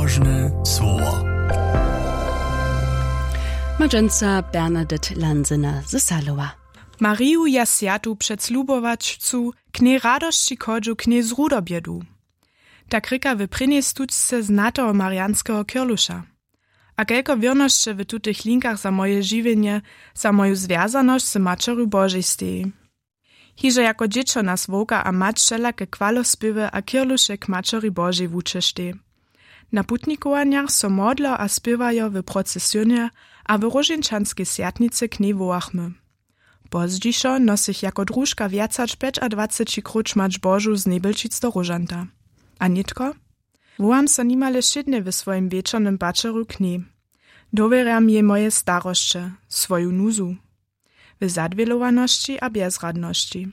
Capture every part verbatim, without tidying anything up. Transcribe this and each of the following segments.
Nabožne słowa. Madźenca Bernadette Lansena z Salowa. Mariju ja swjatu před slubowačcu k njej radosći chodźu, k njej z rudobjedu. Tak rěka w prěnjej stučce znateho marianskeho kirluša. A kelko wěrnosće w tutych linkach za moje žiwjenje, za moju zwjazanosć z maćerju Božej steji. Hižo jako dźěćo nas wowka a mać wšelake chwalospěwy a kirluše k maćeri Božej wučeštaj. Na putnikowanjach so modlo a spěwajo w procesionje a w róžeńčanskej swjatnicy k njej wołachmy. Pozdźišo nosych jako družka wjac hač pjećadwaceći króć mać Božu z njebelčic do róžanta. A nětko? Wołam so nimale wšědnje w swojim wječornym paćerju k njej. Dowěrjam jej moje starosće, swoju nuzu, w zadwělowanosći a bjezradnosći.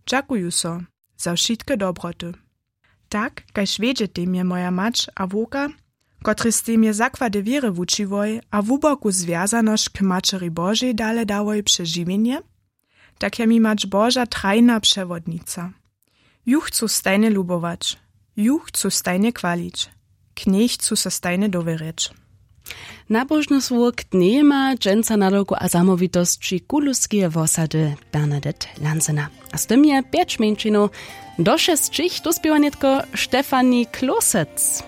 Dźakuju so za wšitke dobroty. Tak kaž wjedźetej mje moja mać a wowka, kotryž stej mje zakłady wěry wučiłoj a hłuboku zwjazanosć k maćeri Božej dale dałoj přez žiwjenje, tak je mi mać Boža trajna přewodnica. Ju chcu stajnje lubować, ju chcu stajnje chwalić, k njej chcu so stajnje dowěrjeć. Nabožne słowo k dnjejema dźensa nadawku a zamołwitosći kuluskeje wosady Bernadette Lansena. A z tym je pjeć mjeńšinow do šesćich, to spěwa nětko Štefani Klosec.